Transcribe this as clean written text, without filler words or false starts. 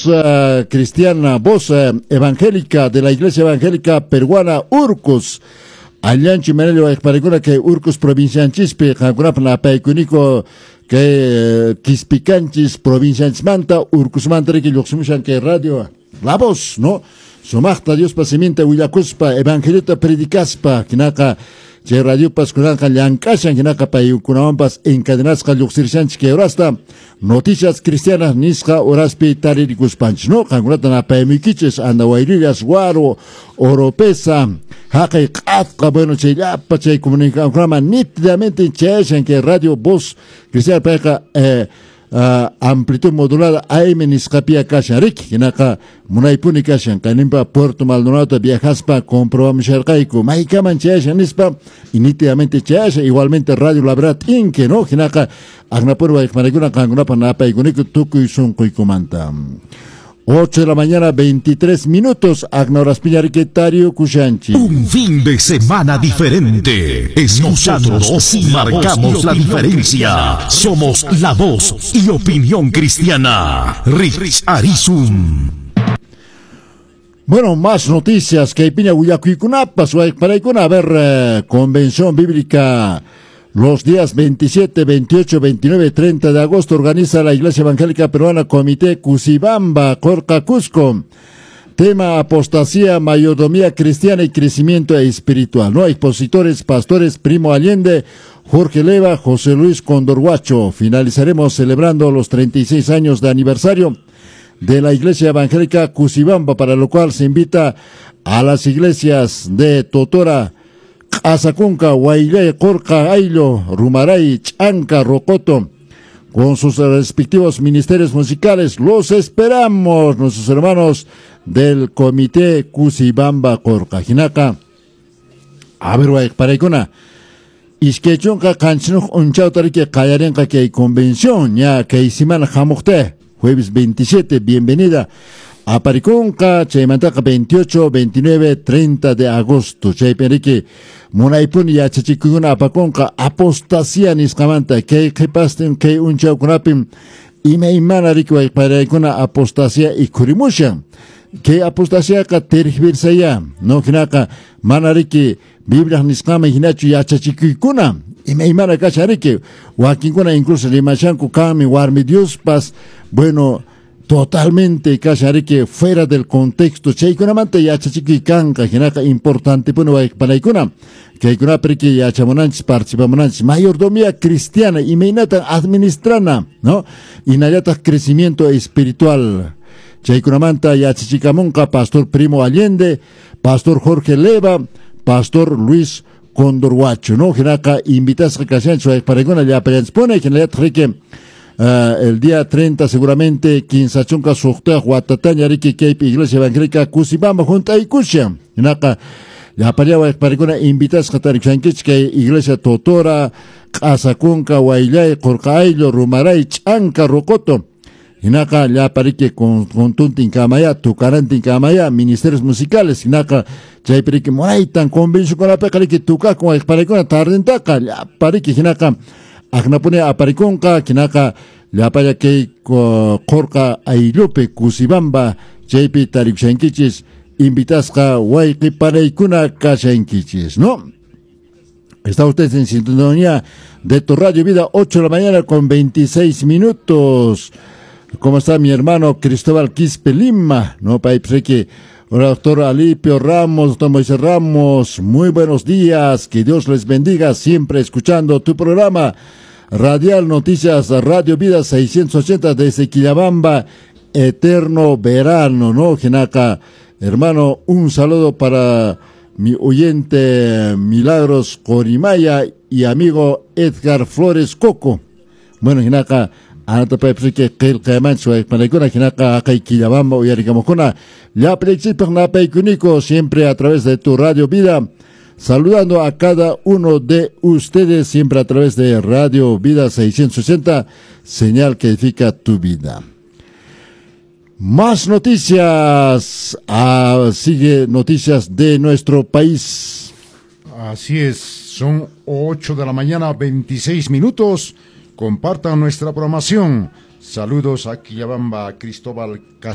Voz Cristiana, Voz Evangélica de la Iglesia Evangélica Peruana Urcos. Allanchi manello wayqparakuna kay Urcos provincianchispi qankunapaq napaykuniko kay Quispicanchis provincianchismanta Urcosmanta riki lluqsimushan kay radio La Voz, ¿no? Sumaqta Diospa siminta willakuspa evangeliota predicaspa hinaqa chay radiopas kunanqa llank'ashan hinaqa paykunawanpas encadenasqa lluqsirishanchis kay horasta Noticias Cristianas nisqa horaspi taririkuspanchis, ¿no? Qankunata napaymuykichis Andahuaylillas, Huaro, Oropesa, haqay q'atqa, bueno, chay llapa chay comunicacionkunaman nítidamente chayashan kay radio Voz Cristiana payqa amplitud modulada AM nisqapia kashan riki hinaqa munaypuni kashan kayninpa Puerto Maldonado viajaspa comprobamusharqayku maykaman chayashan nispa y nítidamente chayashan igualmente Radio La Verdad Inque, ¿no? Hinaqa aqnapuri wayqmanaykuna qankunapaq napaykuniku tukuy sunquykumanta. 8 de la mañana, 23 minutos. Agnoraspiña Riquetario Kushanchi. Un fin de semana diferente. Escuchándonos sí marcamos la diferencia. Somos la voz y opinión cristiana. Rich Arizum. Bueno, más noticias que piña willakuykunapas, wayqparaykuna. A ver, Convención Bíblica. Los días 27, 28, 29, 30 de agosto organiza la Iglesia Evangélica Peruana Comité Cusibamba, Corca, Cusco. Tema apostasía, mayordomía cristiana y crecimiento espiritual. No expositores, pastores Primo Allende, Jorge Leva, José Luis Condorhuacho. Finalizaremos celebrando los 36 años de aniversario de la Iglesia Evangélica Cusibamba, para lo cual se invita a las iglesias de Totora, Azacunca, Huaylay, Corca, Ailo, Rumaray, Chanca, Rocoto, con sus respectivos ministerios musicales. Los esperamos, nuestros hermanos del Comité Cusibamba Corca. Jinaka, a ver, wayqparaykuna, iskaychunka qanchisniyuq p'unchawta riki qallarinqa kay convención, ya kay semana hamuqta, jueves 27, bienvenida. Aparikunqa, chaymantaqa 28, 29, 30 de agosto. Chaypi riki munaypuni yachachikuykuna apakunqa apostasía nisqamanta kay qhipastin kay unchawkunapim imaymana riki wayqparaykuna apostasía ikhurimushan. Kay apostasiaqa tergiversaya, no hinaqa mana riki Biblia nisqaman hinachu yachachikuykuna imaymana kashan riki wakinkuna incluso rimashanku kanmi warmi Diospas, bueno, totalmente kashan riki fuera del contexto chaykunamanta yachachikuy kanqa hinaqa importantepuni wayqpanaykuna kaykunapi riki yachamunanchis participamunanchis mayordomía cristiana imaynatan administrana, ¿no? Hinallataq crecimiento espiritual chaykunamanta yachachikamunqa Pastor Primo Allende, Pastor Jorge Leva, Pastor Luis Condorhuacho, ¿no? Hinaqa invitasqa kashanchis wayqpanaykuna llapallanchispuni hinallataq riki el día 30 seguramente kinsachunka suqtayuq watataña riki kaypi Iglesia Evangélica Cusibamba hunt'aykushan hinaqa llapalla wayqparaykuna invitasqa tarikushankichik kay Iglesia Totora, Q'asakunka, Huayllay, Qurqa Ayllu, Rumaray, Ch'anka, Rocoto hinaqa llapa riki contuntin kamaya, tukarantin kamaya, ministerios musicales hinaqa chaypi riki munaytan convencionkunapiqa riki tukakun wayqparaykuna tardintaqa llapa riki hinaqa aqnapuni aparikunqa hinaqa llapalla kay Qurqa ayllupi Cusibamba chaypi tarikushankichis invitasqa wayqipanaykuna kashankichis, ¿no? Está usted en sintonía de tu Radio Vida, 8 de la mañana con 26 minutos. ¿Cómo está mi hermano Cristóbal Quispe Lima? No, paypi Hola, doctor Alipio Ramos, doctor Moisés Ramos, muy buenos días, que Dios les bendiga, siempre escuchando tu programa Radial Noticias Radio Vida 680 desde Quillabamba, eterno verano, ¿no? Hinaqa, hermano, un saludo para mi oyente Milagros Corimaya y amigo Edgar Flores Coco. Bueno, hinaqa, anatapaypis qillqaymanchis wayqpanaykuna hinaqa haqay Quillabamba uyarikamukuna llapallaykichikpaq napaykuniko siempre a través de tu Radio Vida, saludando a cada uno de ustedes siempre a través de Radio Vida 680, señal que edifica tu vida. Más noticias, sigue noticias de nuestro país. Así es, son 8 de la mañana, 26 minutos. Compartan nuestra programación. Saludos a Quillabamba, Cristóbal Castro.